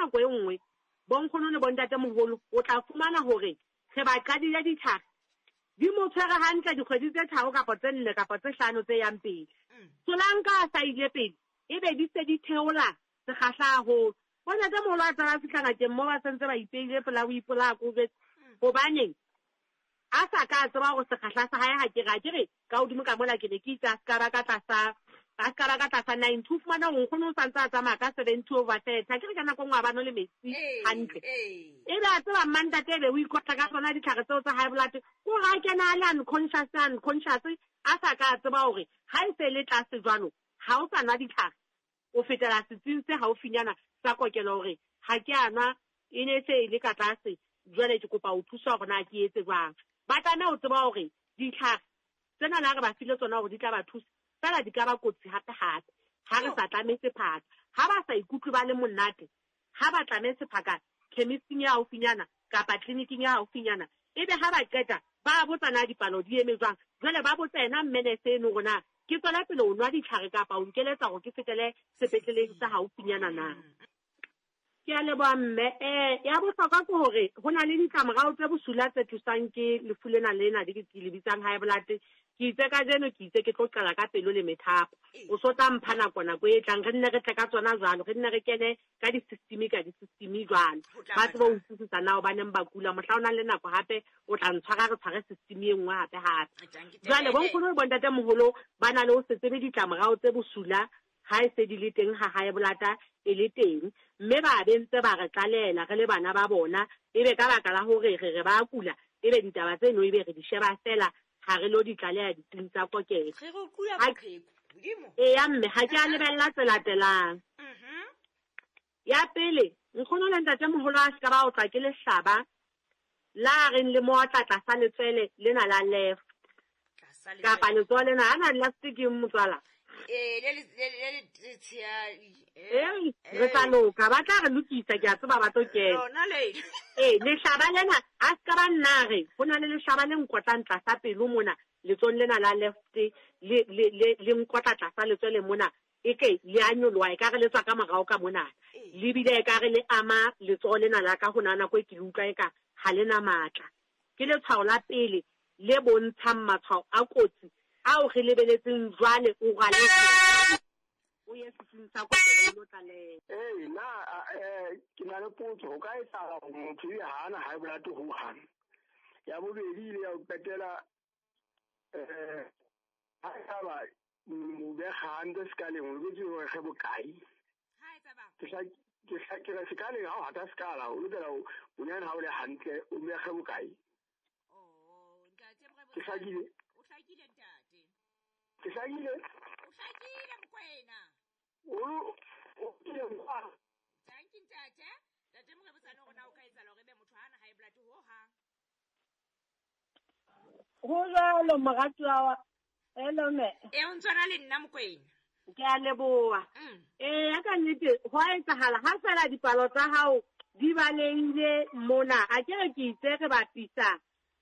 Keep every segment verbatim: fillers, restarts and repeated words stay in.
nako e nngwe bonkgono le bontatemoholo o tla fumana hore re ba qadile ditlhare di mo tshwere hantle dikgwedi tse tharo kapa tse nne kapa tse hlano tse yang pele. Solanka a sa ile pele ebe di se di theola sekgahla haholo. Bontatemoholo a tsaba fihla ngakeng mo ba sentse ba ipeile pela o ipolaya ko jwetse. Hobaneng a sa ka tseba hore sekgahla sa hae ha ke re ke re ka hodimo ka mola ke ne ke itse a ska ba ka tlasa a ska ba ka tlasa ninety. O fumana hore nkgono o santse a tsamaya ka seventy over thirty. Ha ke re ka nako e nngwe ha ba nwe le metsi hantle. Ebe a tseba mmantate ebe o ikotla ka tsona ditlhare tseo tsa high blood. Ko re a kena a le unconscious unconscious a sa ka tseba hore ha e se le tlase jwalo ha o sa nwa ditlhare o fetela setsing se haufinyana sa kokelo hore ha ke a nwa e ne se e le ka tlase jwale ke kopa ho thuswa hore na ke etse jwang. Ba tlameha ho tseba hore ditlhare tsena na re ba file tsona hore di tla ba thusa fela di ka ba kotsi hape hape ha re sa tlame sephaka. Ha ba sa ikutlwe ba le monate ha ba tlame sephaka chemisting ya haufinyana kapa clinicing ya haufinyana ebe ha ba qeta ba botsa na dipalo di eme jwang. Jwale ba botsa yena mmenese eno hore na ke tswela pele ho nwa ditlhare kapa o nkeletsa hore ke fetele sepetleleng sa haufinyana na. Ke a leboha mme. Eh ya bohlokwa ke hore ho na le ditlamorao tse bosula tse thusang ke lefu lena lena le ke le bitsang high blood. Ke itse kajeno ke itse ke tlo qala ka pelo le methapo. O so tla mpha nako nako e tlang re nne re tle ka tsona jwalo, re nne re kene ka di-system ka di-system jwalo. Ba tsebe ho utlwisisa na hobaneng ba kula. Mohla o nang le nako hape o tla ntshwara re tshware system e nngwe hape hape. Jwale bonkgono le bontatemoholo ba na le ho se tsebe ditlamorao tse bosula ha e se di le teng ha high blood e le teng, mme ba be ntse ba re tlalela re le bana ba bona ebe ka baka la hore re re ba kula ebe ditaba tseno ebe re di sheba fela ha re lo di tlaleha ditsing tsa kokelo. Re re kula boqheku modimo. Eya mme ha ke a lebella tse latelang. Mhm. Ya pele nkgono le ntatemoholo a ska ba otlwa ke lehlaba la reng le mootla tlasa letswele lena la left kapa letsoho lena ha na left ke motswala. Eh le le le le tshehadi. Eh re tla loka ba tla re lokisa ke a tseba ba tlo kena. Lona le. Eh lehlaba lena a ska ba nna re ho na le lehlaba le nkotlang tlasa pelo mona letsong lena la left le le le le nkotla tlasa letswele mona e ke le a nyoloha e ka re le tswa ka morao ka mona le bile e ka re le ama letsoho lena la ka hona nako e ke le utlwa e ka ha le na matla. Ke letshwao la pele le bontshang matshwao a kotsi ao re lebeletseng jwale o rale o ye setsing sa kokelo o lo tlaleha. Eh na eh ke na le potso ho ka etsahala hore motho e hana high blood ho hang. Ya bobedi ile ya ho qetela eh ha eba mo be hantle sekaleng o loketse hore re bokae. Ha etsa bang? Ke hla ke hla ke re sekaleng ha o hata sekala o lokela ho bonyane ha o le hantle o be re bokae. Oh ntate Morebotsa. Ke hlakile. O hlakile ntate. Ke hlakile. O hlakile Mokwena. O o ile kwa. Thank you ntate. Ntate Morebotsa no rona o ka etsahala hore ebe motho ha ana high blood ho hang. Ho jwalo moratuwa wa hello mme. Eh o ntshwana le nna Mokwena. Ke a leboha. Mm. Eh ya ka nnete ho a etsahala ha fela dipalo tsa hao di balehile mona a ke re ke itse re bapisa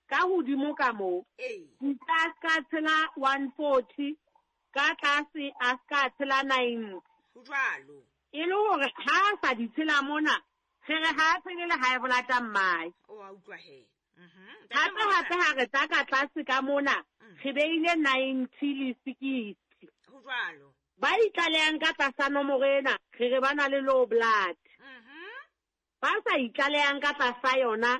ka hodimo ka moo. Ee. Ka ska tshela one forty ka tlase a ska tshela ninety. Ho jwalo. E le hore ha sa di tshela mona re re ha tshele le high blood mmae. O a utlwa he. Mhm. Hape hape ha re tla ka tlase ka mona re beile ninety le sixty. Ho jwalo. Ba itlalehang ka tlasa nomoro ena re re ba na le low blood. Mhm. Ba sa itlalehang ka tlasa yona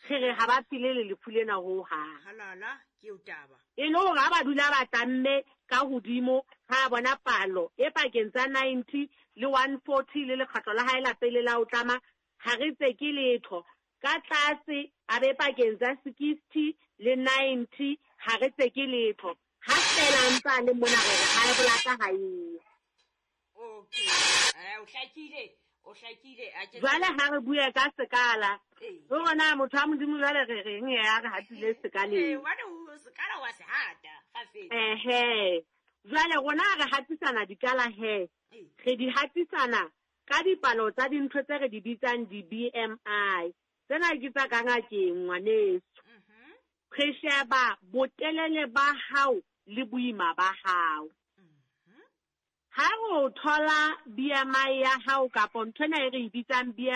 re re ha ba phele le lefu lena ho hang. Halala ke o taba. E le hore ha ba dula ba tlamme ka hodimo ha bona palo e pakeng tsa ninety le one forty le lekgatlo la hae la pele la ho tlama ha re tse ke letho. Ka tlase a be pakeng tsa sixty le ninety ha re tse ke letho. Ha fela ntsa le mona re re high blood ha eyo. Okay. Eh o hlakile. O hlakile a ke Jwale ha re bue ka sekala. Ee. Ho rona motho wa Modimo jwale re reng ya re hatile sekaleng. Eh hobane o sekala wa se hata kgafetsa. Ehe. Jwale rona re hatisana dikala he. Ee. Re di hatisana ka dipalo tsa dintho tse re di bitsang di-B M I. Tsena ke tsa ka ngakeng ngwaneso. Mhm. Re sheba botelele ba hao le boima ba hao. Mhm. Ha re o thola B M I ya hao kapa ntho ena e re e bitsang B